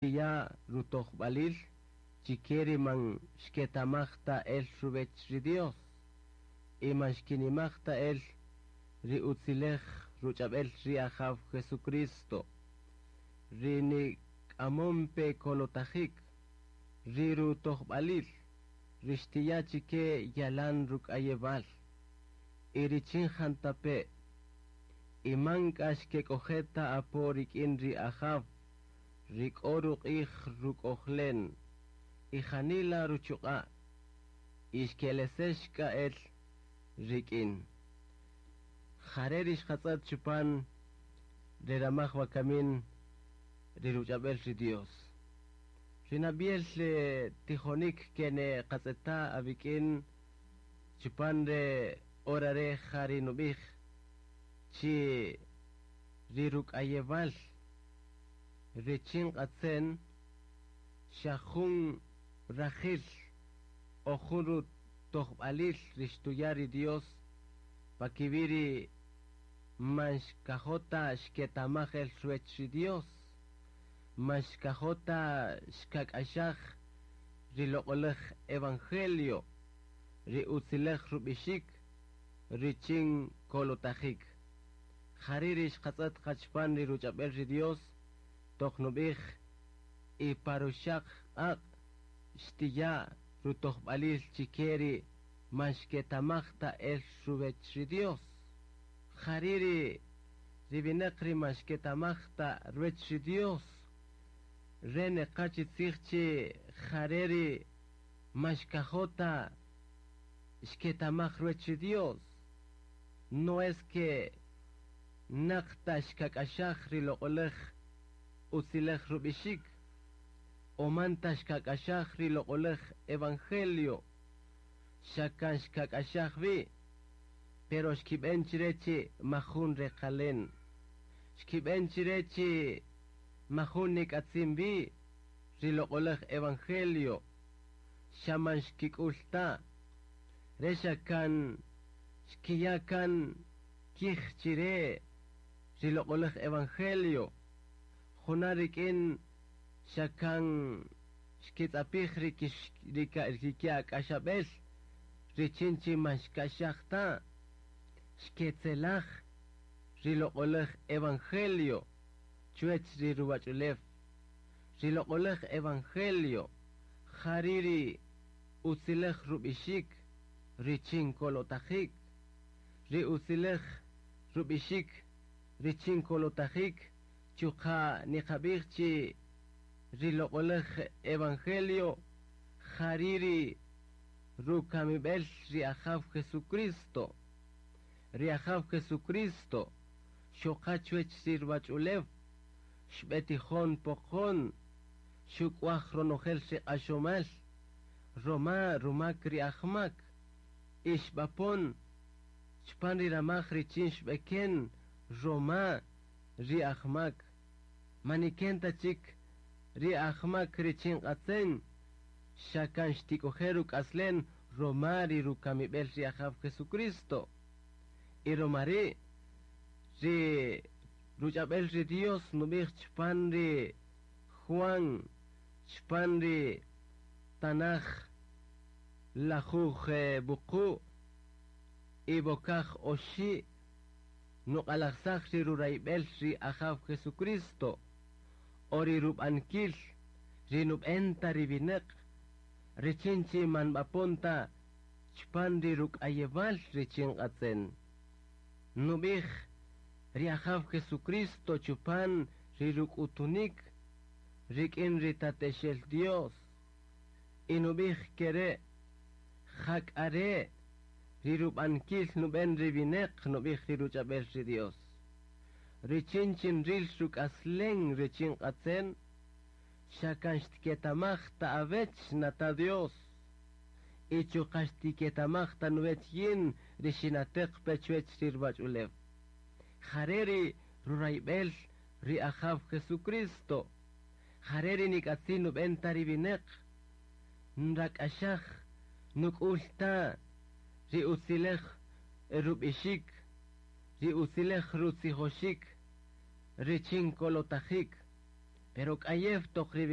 Ya rutojb'alil chike ri man xketamaj ta el ruwech ri Dios y man xkinimaj ta el ri utzilej ruch'ab'el ri Ajaw Jesucristo, ri nik'amon pe kolotajik, ri rutojb'alil, ri xtiya chike yalan ruk'ayewal y richin jantape' y man k'a xkek'oje' ta apo rik'in ri Ajaw, ri k'o ruq'ij ruk'ojlen y janila ruchuq'a' y xkelesex k'a el rik'in. Jare' ri xqatz'ët chupan ri ramaj wakamin ri ruch'ab'el ri Dios. Ri nab'iel tijonik kene qatz'eta' awik'in chupan re hora re' ja ri nub'ij chi ri ruk'ayewal richin q'atzen xa jun rajil o jun rutojb'alil ri xtuya' ri Dios pakiwi' ri man xkajo' ta xketamaj el ruwech ri Dios, man xkajo' ta xkak'axaj ri loq'olaj evangelio, ri utzilej rub'ixik richin kolotajik. Jari' ri xqatz'ët qa chupan ri ruch'ab'el ri Dios toq nub'ij y pa ruxaq q'aq' xtiya' rutojb'alil chike ri man xketamaj ta el ruwech ri Dios. Jari' ri winäq ri man xketamaj ta ruwech ri Dios, re neqa chi tzij chi jare' ri man xkajo' ta xketamaj ruwech ri Dios. No es que naq ta xkak'axaj ri loq'olaj utzilej rub'ixik o man ta xkak'axaj ri loq'olaj evangelio, xa kan xkak'axaj wi, pero xkib'en chire chi majun reqalen. Xkib'en chire chi majun nik'atzin wi ri loq'olaj evangelio, xa man xkik'ul ta. Re xa kan xkiya' kan kij chire ri loq'olaj evangelio, juna' rik'in xa kan xkitz'apij ri kiak'axab'el richin chi man xk'axaj ta, xketzelaj ri loq'olaj evangelio chuwech ri ruwach'ulew. Ri loq'olaj evangelio jari' ri utzilej rub'ixik richin kolotajik, ri utzilej rub'ixik richin kolotajik chuqa' niqab'ij chi ri loq'olaj evangelio jari' ri rukamib'el ri Ajaw Jesucristo. Ri Ajaw Jesucristo xoqa chuwech ri ruwach'ulew, xb'etijon poqon, xuk'waj ronojel ri q'axomal, roma rumak ri ajmak, y xb'apon chupan ri ramaj richin xb'eken roma ri ajmak. Maniken ta chik ri ajmak richin q'atzen, xa kan xtik'oje' ruk'aslen roma ri rukamib'el ri Ajaw Jesucristo. Y roma ri' ri ruch'ab'el ri Dios nub'ij chupan ri Juan, chupan ri Tanaj lajuj wuqu' y bokaj oxi' nuq'alajsaj ri rurayb'el ri Ajaw Jesucristo o ri rub'ankil ri nub'en ta ri winäq richin chi man b'apon ta chupan ri ruk'ayewal richin q'atzen. Nub'ij ri Ajaw Jesucristo chupan ri ruk'utunik rik'in ri Tatexel Dios. Y nub'ij kere' jak'are' ri rub'ankil nub'en ri winäq nub'ij ri ruch'ab'el ri Dios. Richin chin ril ruk'aslen richin q'atzen, xa kan xtiketamaj ta awech nata Dios. Y chuqa' xtiketamaj ta nuwech yin ri xinateq pe chuwech ri ruwach'ulew. Jare' ri rurayb'el ri Ajaw Jesucristo. Jare' ri nik'atzin nub'en ta ri winäq. Nrak'axaj nuk'ul ta ri utzilej rub'ixik, ri utzilej rutzijoxik, richin kolotajik. Pero k'ayew toq ri.